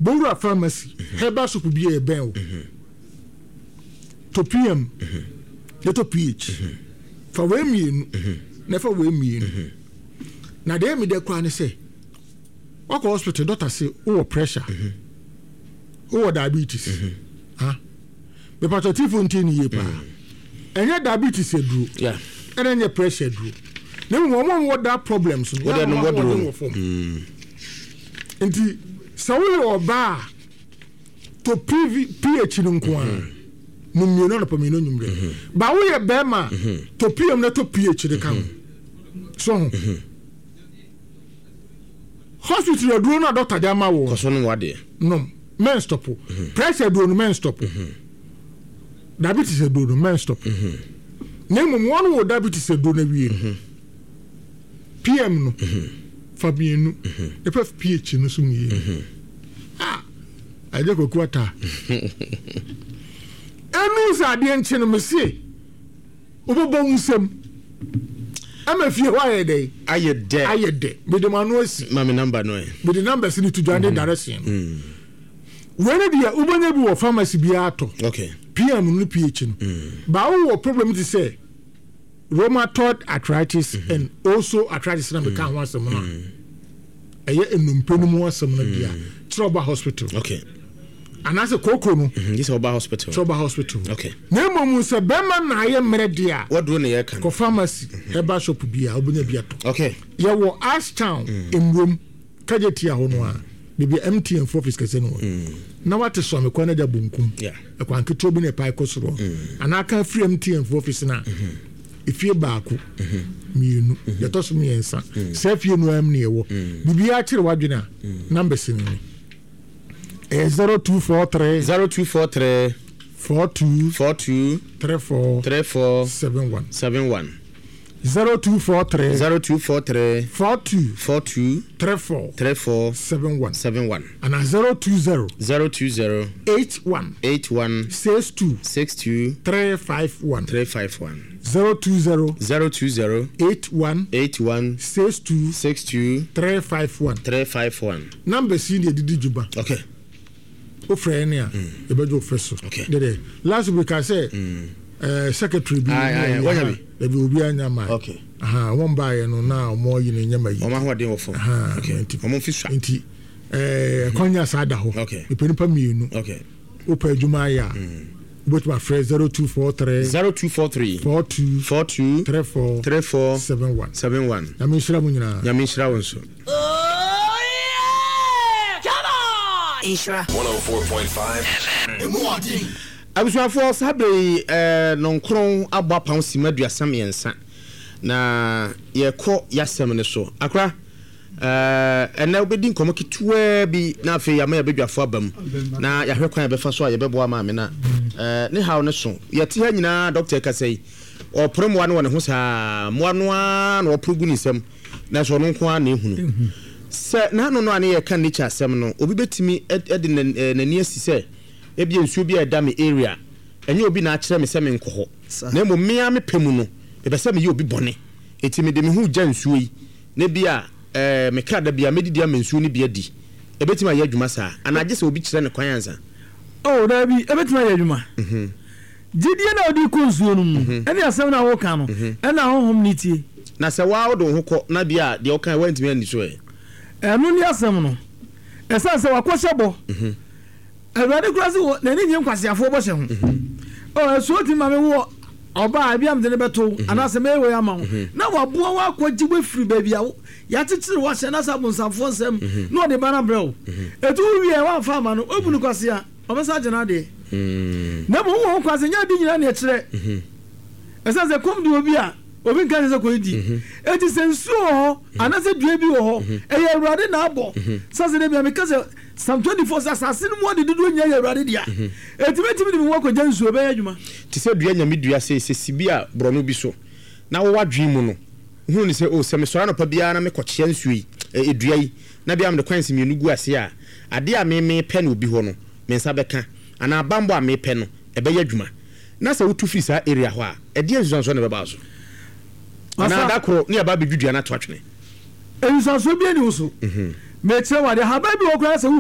Bowura pharmacy, herbal shop bi a ɛbɛn wo. Tɔ PM, na tɔ PH. Fa wei mmienu, na fa wei mmienu. Na deɛ ɛmi dɛ koraa ne sɛ, wakɔ hospital, doctor se wowɔ pressure, wowɔ diabetes. Ha? Mepatɔ tifo nti ne yie paa. Ɛnyɛ diabetes aduro, ɛna ɛnyɛ pressure aduro. Na mmom wɔn a wɔwɔ that problems no, Wɔde yɛ nom a wɔn wɔduro ahoɔden no. wɔ fam. Nti sɛ woyɛ ɔbaa a, tɔ PV, PH no nko ara. No mmienu anɔpa mmienu anwummerɛ. Ba woyɛ bɛrima a, tɔ PM na tɔ PH de ka ho. So ho. Hospital aduro no a doctor de ama wo Kɔ so nom w'adeɛ. nom mɛnstɔpo. Pressure aduro no mɛnstɔpo. Diabetes aduro no mɛnstɔpo. Na mmom wɔn wɔ diabetes aduro no awie no, PM no fa mmienu na fa PH no so mmienu. Ah, agye Kwaku Ataa. Ɛnu sɛ adeɛ nkye no mese wobɛbɔ wo nsam ama fie hɔ ayɛ dɛ. Ayɛ dɛ. Ayɛ dɛ. Mede m'ano asi. Ma me number no ɛ. Mede numbers no to dwa ne direction no. Wei no deɛ wobɛnya bi wɔ pharmacy biara tɔ. Okay. PM no ne PH no. Ba wowɔ problem te sɛ rheumatoid arthritis and also arthritis na meka ho asɛm no a, ɛyɛ nnompe no mu asɛm no deɛ a, kyerɛ ɔba hospital. Okay. Anaasɛ kooko no. Gye sɛ ɔba hospital. Kyerɛ ɔba hospital. Okay. Na mmom sɛ bɛrima na ayɛ mmerɛ deɛ a, Waduro ne yɛka no. kɔ pharmacy, herbal shop bi a wobɛnya bi atɔ. Okay. Yɛwɔ Ashtown, Mmurom, Kagyetia hɔ no a, baabi a MTN fo office kɛse no wɔ. Na wate Suame kwan no agya bonkum. Ɛkwan ketewa bi na ɛpae kɔ soro hɔ. Anaa ka firi MTN fo office no a, efie baako, mmienu, deɛ ɛtɔ so mmiɛnsa. Saa fie no ara mu na yɛwɔ. Biribiara kyere w'adwene a, numbers no ni. Ɛyɛ 0243 0243 42 42 34 34 71. 71. 0243 0243 42 42 34 34 71. 71. Anaa 020 020 81 81 62 62 351. 351. 020 020 81 81 62 62 351. 351. Numbers yi na yɛde di dwuma. Okay. Wofrɛ yɛn a, yɛbɛgye wo fɛ so. Okay. Dɛdɛ last week ka sɛ secretary bi Aye, aye, ne wanya ha, bi? dabi obi anya ma. Okay. Aha, wɔn baayɛ no na wɔn ayi no nyɛ ma yi. Wɔn ahoɔden wɔ fam. Aha, Okay. nti Wɔn mfi sua. nti kwanya saa da hɔ. Okay. Mepɛ nipa mmienu. Okay. Wopɛ adwuma ayɛ a, wobɛtumi afrɛ 0243 0243 42 42 34 34 71. 71. Nyame nhyira mo nyinaa. Nyame nhyira wo nso. Oh yeah! Come on! Nhyira. 104.5 FM. Abusuafoɔ, saa berɛ yi nɔnkron abɔ apam simma 33 na yɛrekɔ y'asɛm no so. Akora, ɛnnɛ wobɛdi nkɔmmɔ ketewaa bi na afei yɛama yɛabadwafoɔ aba mu na yɛahwɛ kwan a yɛbɛfa so a yɛbɛboa maame no a ne haw no so. Yɛte ha nyinaa dɔkta rekasa yi, ɔrepore mmoa no wɔ ne ho saa, mmoa no ara na ɔpore gu ne nsam nanso ɔno nko ara na ɛhunu. Sɛ n'ano no a ne yɛreka nature asɛm no, obi bɛtumi de n'ani asi sɛ Ebia nsuo bi a ɛda me area, ɛnyɛ obi na akyerɛ me sɛ menkɔ hɔ, na mmom me ara me pɛ mu no, mepɛ sɛ meyɛ obi bɔne, enti mede me ho regya nsuo yi, na ebia eh, me kra da biara mɛdidi ama nsuo no bi adi. Ɛbɛtumi ayɛ adwuma saa? Anaa gye sɛ obi kyerɛ no kwan ansa? Oh, daabi, ɛbɛtumi ayɛ adwuma. Gyidie no a wode rekɔ nsuo no mu no, ɛne asɛm no a woreka no, ɛna honhom no tie. Na sɛ wo ara wode wo ho kɔ, na ebia deɛ wokaeɛ woantumi anni so ɛ? Ɛno ne asɛm no. Ɛsiane sɛ wakɔhyɛ bɔ. Awurade koraa se wɔ n'ani nnye nkwaseafoɔ bɔhyɛ ho. Oh, asuo tumi ma me wo ɔbaa a ebia mede no bɛto wo anaasɛ mɛyɛ wei ama wo na waboa wo akɔgye wo afiri baabi a yɛakyekyere wo ahyɛ anaasɛ abonsamfoɔ nsam na ɔde ba no abrɛ wo. Ɛti wo wie a woamfa ama no, woabu no kwasea, ɔbɛsan agye n'adeɛ. Na mmom wowɔ ho kwan sɛ nyɛ ade nyinaa na ɛkyerɛ. Ɛsiane sɛ kɔm de obi a, obi nka nkyerɛ sɛ kɔdidi. Enti sɛ nsuo wɔ hɔ anaasɛ dua bi wɔ hɔ, ɛyɛ Awurade na abɔ. Sɛ sɛ da bi a meka sɛ Psalm 24 sɛ asase no mu ade dodoɔ nyinaa yɛ Awurade dea. Enti mɛtumi de me ho akɔgya nsuo, ɛbɛyɛ adwuma. Te sɛ dua nyame dua sei, sɛ si bi a borɔno bi so, na wɔ w'adwene mu no, wohunu no sɛ, oh, sɛ mesɔre anɔpa biara na mekɔkyea nsuo yi, eh, dua yi, na bia mede coins mmienu gu aseɛ a, adeɛ a me mepɛ no obi hɔ no, me nsa bɛka, anaa banbɔ a mepɛ no, ɛbɛyɛ adwuma. Na sɛ wotu firi saa area hɔ a, ɛdeɛn nsusuansoɔ na ɛbɛba wo so? Anaa da koro ne yɛaba abɛdwi dua no ato atwene? Nsusuansoɔ biara nni wo so. Mekyerɛ wo adeɛ, ahaban bi wɔ hɔ koraa sɛ wo.